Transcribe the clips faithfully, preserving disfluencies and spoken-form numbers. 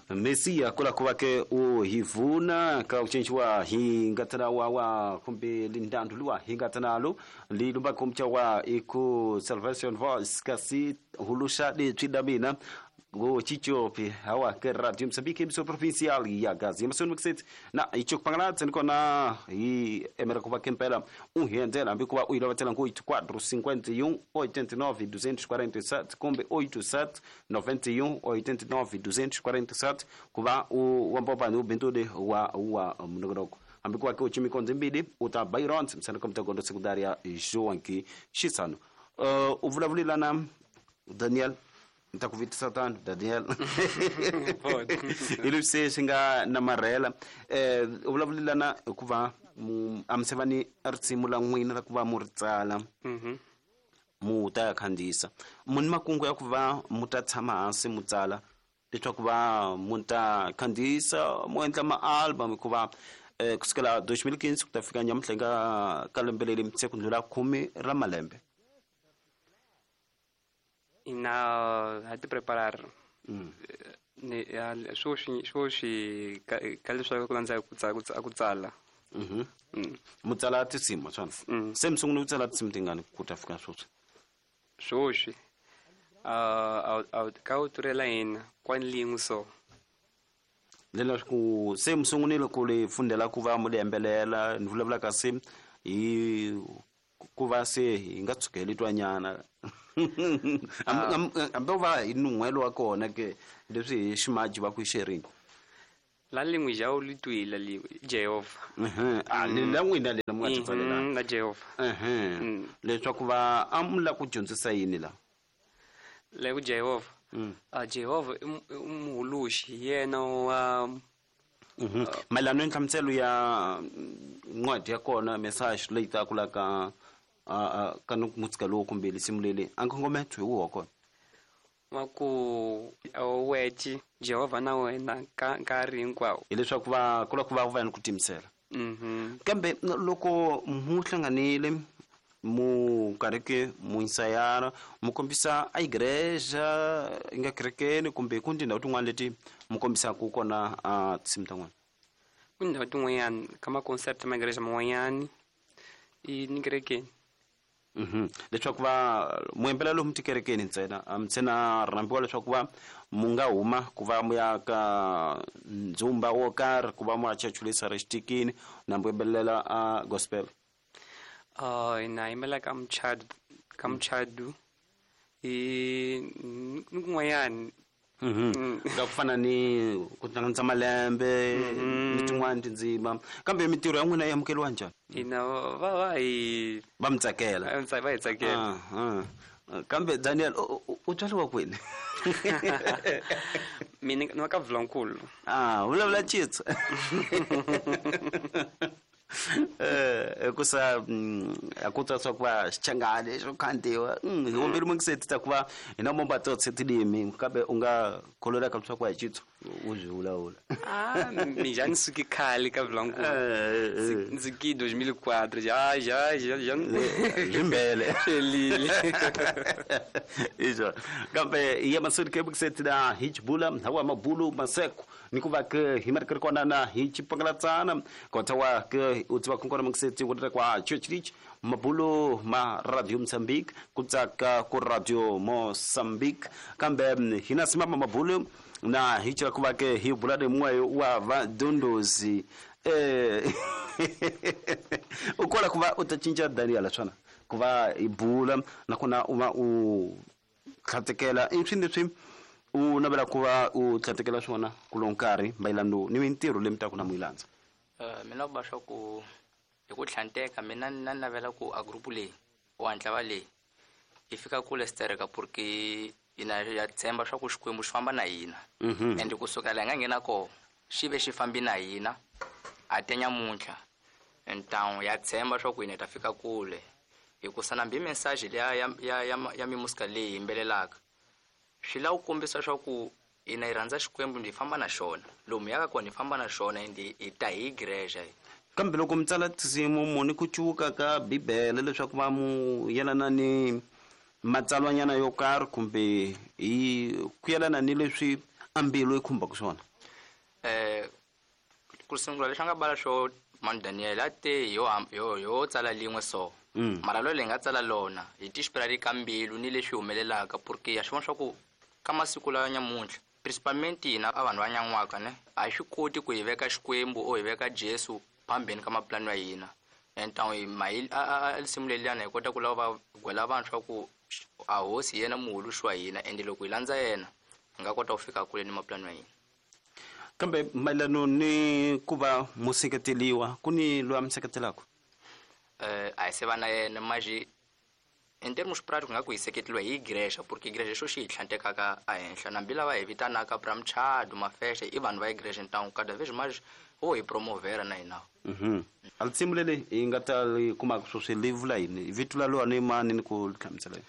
Mesiya kula ku va ke u hi vuna ka ku cinciwa hi nga tana wa wa kumbe lindhandu luwa hi nga tanalo li lumba kumcha wa iku Salvation Voice kasi hulusha leswi da mina go chichopi hawa ke Radio Mozambique emissora provincial ya Gaza emasoni mixet na icho kupangala tsenikona hi emera kuva kempela um hendela hambi kuva u yi lovatela ngo oito quatro cinquenta e um oitenta e nove duzentos e quarenta e sete kumbe oito sete noventa e um oitenta e nove duzentos e quarenta e sete kuva u wambopani u bintudi wa wa mnogonoko hambi kuva ke u chimikonzi mbili u ta Byron msana komtagondo sekundária João Chissano. Uh, u vulavulelana Daniel nta ku vitisa tano Daniel hi leswi swi nga namarhela eh u vulavulelana hikuva a mi se va ni risimu la n'wina ra ku va mu ri tsala mu ta ya khandziyisa mu ni makungu ya ku va mu ta tshama hansi mu tsala leswaku va mu ta khandziyisa mu endla ma-album hikuva eh kusukela dois mil e quinze ku ta fika nyamuntlha nga ka lembe leri se ku ndlula khume ra malembe. Ina ha ti preparar ni swoswi swoswi ka leswaku ku landza ku tsala ku tsala mhm mu tsala tinsimu swona se mi sungule ku tsala tinsimu tingani ku ta fika swoswi swoswi a a ka u turela hina kwanlingu so leswaku se mi sungunile ku li fundela ku va mu li yimbelela ni vulavula kasi hi ku va se hi nga tshukeli twanyana hambi va hi nun'hwelo wa kona ke leswi hi ximaji va ku xerini la lingwe ja u litwila li Jehova a le la n'wina le mu nga ti tsalela la Jehova leswaku va a mu la ku dyondzisa yini la le ku Jehova a Jehova i muhuluxi yena wa mayelana ni nhlamuselo ya ncwadi ya kona message leyi taka la ka ka mutsika lowu kumbe lisimu leli a nkongometo hi wa kona wa ku weci Jehova na wena ka nkarhi hinkwawo hileswaku va ku lava ku va va ni ku timisela kambe loko mu hlanganile mu karhi ke mu ensayara mu kombisa a igreja yi nga kerekeni kumbe ku tindhawu tin'wana leti mu kombisaka kona a tinsimu ta n'wina ku tindhawu tin'wanyana ka ma-concert ma igreja man'wanyani i ni kerekeni mhm leswaku va mu yimbelela lomu tikerekeni ntsena a mi ntsena rhambiwa leswaku va mu nga huma ku va mu ya ka ndzumba wo karhi ku va mu ya chachulisa ri xitikini na mu yimbelela a gospel uh ina yimbela ka muchadu ka muchadu i ni kun'wanyani mhm ka ku fana ni ku hlanganisa malembe ni tin'wana tindzima kambe mintirho ya n'wina yi amukeriwa njhani ina va va hi va mi tsakela va hi tsakela kambe Daniel u tswariwa kwini mina ni wa ka Vulankulu ah vulavula Xitsonga eh kusa a ku tswa ku va xichangani xo khandziwa hi wombeli mungiseti ta ku va hina momba tsotse tilimi kambe u nga kholelaka leswaku a hi Xitsonga u byi vulavula ah mi já ni suki khale ka Vulankulu ndzi ki dois mil e quatro já já já já byimbele xelile iso kambe ya masudi ke mungiseti na hi xibula hawa mabulu maseko ni ku va ke hi mari kona na hi xipangalatsana kota wa ke u tiva ku kona mungiseti ku ri kwa Church Reach mabulu ma Radio Mozambique ku tsaka ku Radio Mozambique kambe hina simama mabulu na hi cela ku va ke hi bula ni mumwe wa vadondozi eh u kola ku va u ta cinca Daniel swona ku va hi bula nakona u va u tlhatekela i swilo leswi u navela ku va u tlhatekela swona ku lo nkarhi mayelano ni mintirho leyi mi taka na mu yi landza mina ku va swa ku hi ku tlhanteka mina na navela ku a group leyi u hatla va leyi yi fika kule stereka porque hina ya tshemba swa ku Xikwembu xi famba na hina and kusukela hi nga nghena koho xi ve xi fambi na hina a te nyamuntlha ntawu ya tshemba swa ku hina hi ta fika kule hikusa nambi message liya ya ya ya ya mimusika leyi yimbelelaka swi lava ku kombisa swa ku hina hi rhandza Xikwembu hi famba na xona lomu yaka kona hi famba na xona and hi ta hi igreja kambe loko mi tsala tinsimu mu ni ku cuka ka bibele leswaku va mu yelana ni matsalwanyana yo karhi kumbe hi ku yelana ni leswi a mbilu yi khumbaka swona Ku sungula lexi a nga bala xo Manu Daniel a te yo yo yo tsala lin'we so. Mm. Mara lo leyi nga tsala lona hi tixipirali ka mbilu ni leswi humelelaka porque ya swi vona swa ku ka masiku lawa nyamuntlha principalmente hina a vanhu va nyan'waka ne a hi swi koti ku hi veka Xikwembu o hi veka Jesu phambeni ka mapulani ya hina. And ntan'we hi a risimu leliyana hi kota ku lava va gwela vanhu swa ku a hosi hi yena muhuluxi wa hina ende loko hi landza yena hi nga kota ku fika kule ni mapulani ya hina. Kambe mayelano ni ku va museketeliwa ku ni loyi a mi seketelaka? Eh a hi se va na yena maji in termos práticos nga ku hi seketeliwa hi igreja porque igreja xo xi hi tlhantekaka ehenhla nambi lava hi vitanaka pra mchado mafexe i vanhu va igreja ntangu cada vez mais vo hi promovera na hina. Mhm. A risimu leri hi nga ta ri kumaka sweswi li vula yini? Vito la lona i mani ni ku hlamusela yini?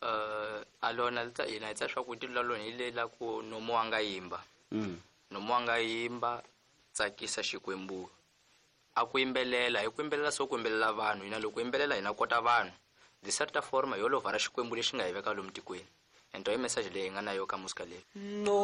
Eh a lona li hina hi tsaka swa ku tilo la lona hi le la ku nomu wa nga yimba. Mm. Nomu wa nga yimba tsakisa Xikwembu. A ku yimbelela hi ku yimbelela so ku yimbelela vanhu hina loko yimbelela hina kota vanhu. De certa forma yo lovara Xikwembu lexi nga hi veka lomu tikweni. Ento i message leyi hi nga na yo ka musika leyi. No.